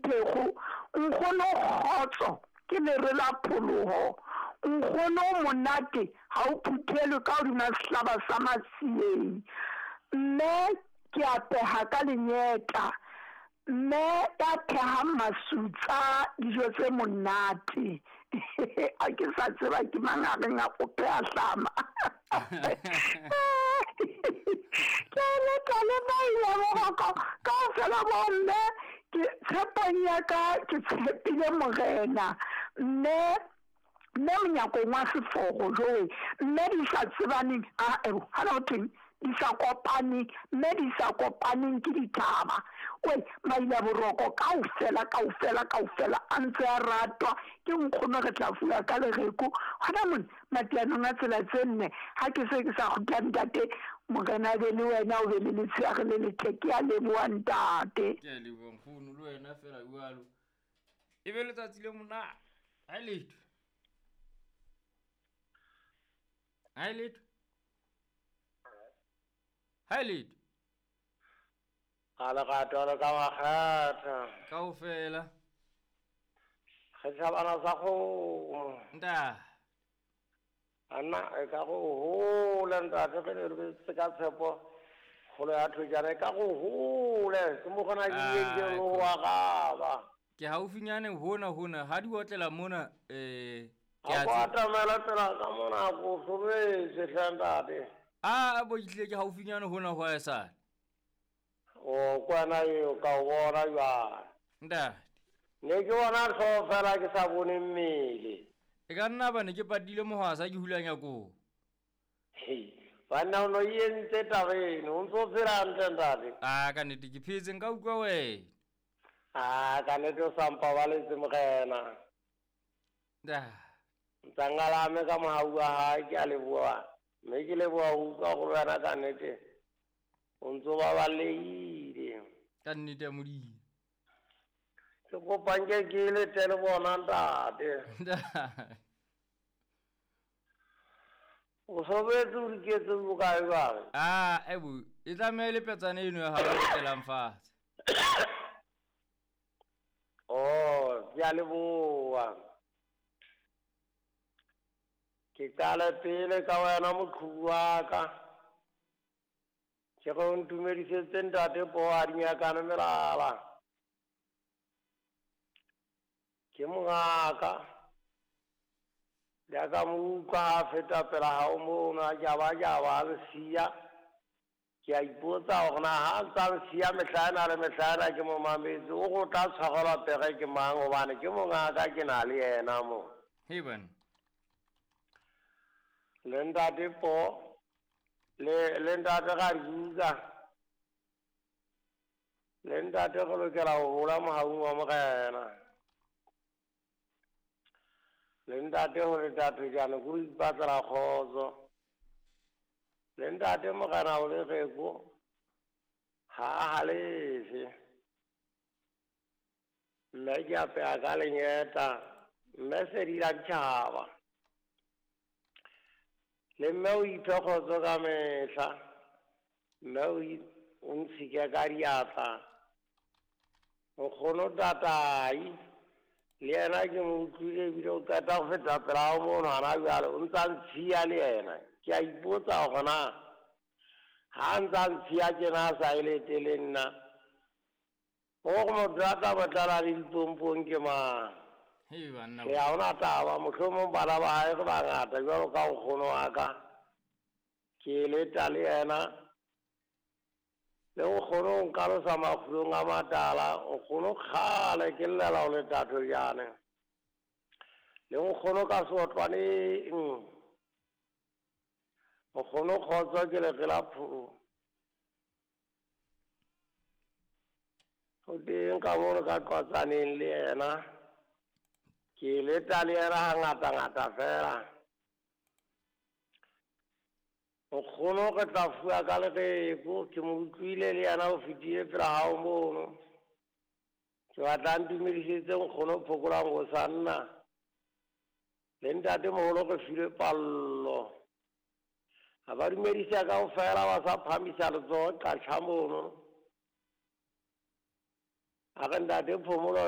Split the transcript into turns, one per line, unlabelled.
Pheko, nkgono kgotso ke lere la pholoho. Nkgono o monate ha o phuthelwe ka hodima sehlaba sa Matsieng. Mme ke apeha ka lenyeta. Mme ya phehang masutsa dijo tse monate. A ke sa tseba ke mang a reng a o pheha hlama. Ke leta le maila boroko kaofela bomme ke tshepong ya ka ke tshepile Morena. Mme mme monyakong wa seforo jowe mme di sa tsebaneng a hana ho thweng di sa kopaneng mme di sa kopaneng ke dithaba we maila boroko kaofela kaofela kaofela a ntse a ratwa ke nkgono re tla fuwa ka lereko gona mone matianong a tsela tse nne ga ke se ke sa kgutla ntate Morena a be le wena o be le letshehare le letle ke a leboha ntate.
Ke a leboha nkgono le wena fela jwalo e be letsatsi le monate. Ha e letho. Ha e letho. Ha e letho.
Ga lerato le ka makgetha.
Kaofela.
Re tšhabana sa kgomo.
Nta.
Anna e ka go hole ntate ge ne re se ka tshepo kgolo ya thojana e ka go hole ke mo gona ke ile ke lo wa gaba.
Ke haufinyane hona hona ha di otlela mona eh
ke a atamela tsela ka mona go hlobetse hle ntate.
A bo itlile ke haufinyane hona ho esale.
O kwana eo ka o bona jwale.
Ntate.
Ne ke bona hlooho fela ke sa bone mmele.
E ka nna ba ne ke patile mohwasa ke hulanya koo.
Hei, banna o no e entse taba eno, o ntse o phela hantle ntate.
A ka nnete ke phetse nka utlwa wena.
A ka nnete o sa mpabaletse Morena. Ntsangalame ka mohau wa hae ke a leboha. Mme ke leboha ho utlwa gore wena ka nnete o ntse o babalehile.
Ka nnete ya Modimo.
Ke kopa nke ke lete le bona ntate. O sobetse o diketse bokae jwale?
A ebo e tlameha e le petsana eno ya hao e otelang fatshe.
Oh, ke a leboha. Ke qale pele ka wena moqhubu wa ka. Ke re o ntumedisetse ntate poo a dinyakane melala. Ke mongaka. Le ka mo utlwa ha a feta pela hao mono a jaba-jaba a nsiya. Ke a ipotsa hore na ha a ntsa nsiya mehla ena le mehla ena ke mo mametse, o re o tla tshwarelwa pere ke mang hobane ke mongaka ke na le yena mo.
Hei banna.
Le ntate Po le le ntate Radibuka le ntate re lokela ho hola mohaung wa Morena. Le ntate ho le Thejane ke ho ipatlela kgotso. Le ntate Morena o lereko ha a halefe. Mme ke apeha ka lenyeta mme sedila ditjhaba. Le mme o iphe kgotso ka mehla. Mme o ntshike ka diatla. Nkgono Tatai le yena ke mo utlwile ebile o qeta go feta pela hao mono hana jwale o ntsa ntshiya le yena. Ke a ipotsa hore na ha a ntsa ntshiya tjena a sa e lete le nna gore motho a tla mo tlala le dipompong ke mang?
Hei banna.
Ke ha hona taba, mohlomong bana ba hae re bangata jwalo ka nkgono wa ka. Ke leta le yena. Le nkgono o nkalosa makgulong a matala, nkgono kgale ke llela ho leta Thojane. Le nkgono ka seotlwaneng. Nkgono kgotso ke lere la pholo. O teng ka mono ka qwatsaneng le yena. Ke leta le yena hangata-ngata fela. Nkgono re tla fuwa ka lereko, ke mo utlwile le yena o fetile pela hao mono. Ke batla ntumedisetse nkgono Phokolang ho sa nna. Le ntate moholo re filwe pallo. Ha ba dumedisa kaofela ba sa phamisa letsoho qatjha mono. A re ntate Phomolo